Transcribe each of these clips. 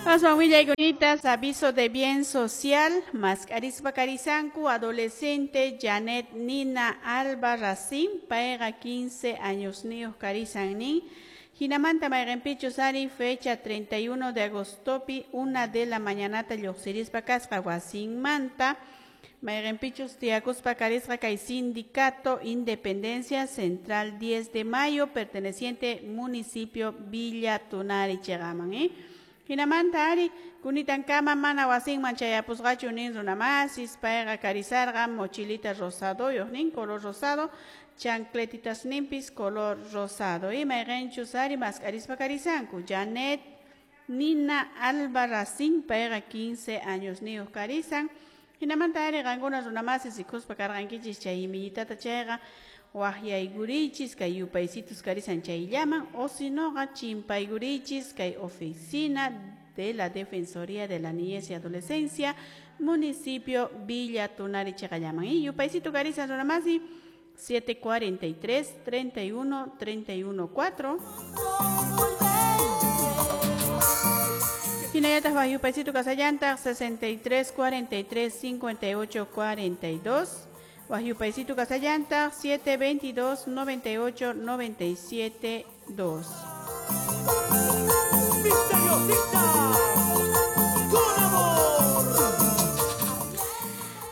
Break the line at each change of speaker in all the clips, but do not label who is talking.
Aswan willaykunitas aviso de bien social mask'arispa karisanku adolescente Janet Nina Alba Racín payqa 15 añosniyuq karisan nin hinamanta mayqinpichus ari fecha 31 de agostopi 1 de la mañanata lluqsirispa kasqa wasinmanta mayqinpichus tiyakuspa karisqa kay sindicato Independencia Central 10 de Mayo perteneciente municipio Villa Tunari chiqaman Hinamanta ari kunitankama mana wasinman chayapusqachu nin runamasis payqa karisarqa mochilita rosadoyuq nin color rosado chancletitas ninpis color rosado y mayqinchus ari mask'arispa karisanku Janet Nina Alba Racín payqa 15 años niyuq karisan hinamanta ari qankuna runamasis rikuspa karqankichis chay imillitata chayqa waqyaykurichis kay yupaysitus karisan chayllaman o sinoqa chimpaykurichis kay oficina de la Defensoría de la Niñez y Adolescencia municipio Villa Tunari chiqallaman y yupaysitu karisan runamasi 743 31 31 4 Hinallataq waq yupaysitu kasallantaq 63 43 58 42 Waq yupaysitu kasallantaq 722 98 97 2.
Misteriosita, con amor.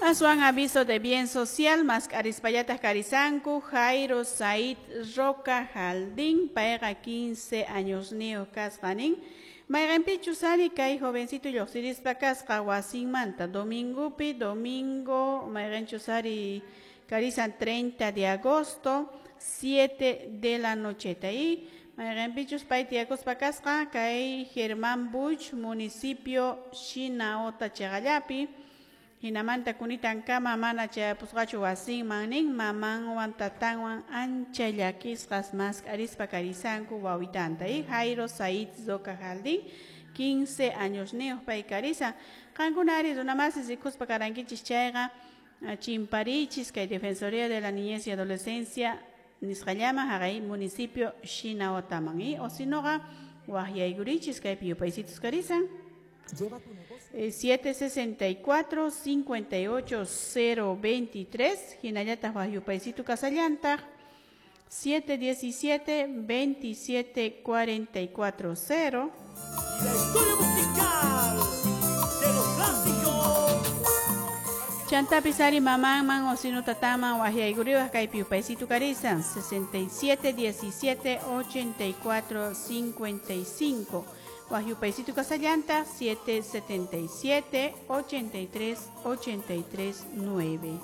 Aswan aviso de bien social, mask'arispallataq karisanku, Jairo Said Roca Jaldín, payqa 15 años niyuq kasqa nin. Mayqinpichus ari kay jovencito lluqsirispa kasqa wasinmanta domingupi, domingo, mayqinchus ari karisan 30 de agosto, 7 de la nocheta. Y mayqinpichus pay tiyakuspa kasqa kay Germán Buch, municipio Shinaota chiqallapi. Hinamanta kunitankama mana chayapusqachu wasinman nin mamanwan tatanwan ancha llakisqas mask'arispa karisanku wawitanta. Y Jairo Said Roca Jaldín, 15 años niyuq pay karisan. Qankuna ari runamasis rikuspa karankichis chayqa chimparichis kay Defensoría de la Niñez y Adolescencia nisqallaman haqay municipio Shinaotaman. Y o sinoqa waqyaykurichis kaypi yupaysitus karisan. 764 58 023 hinallataq waq yupaysitu kasallantaq 717 27 44 0.
Y la historia musical de los clásicos.
Chantapis ari mamanman o sino tataman waqyaykuriwaq kaypi yupaysitu karisan 67 17 84 55. Waq yupaysitu kasallantaq 777 83 83 9.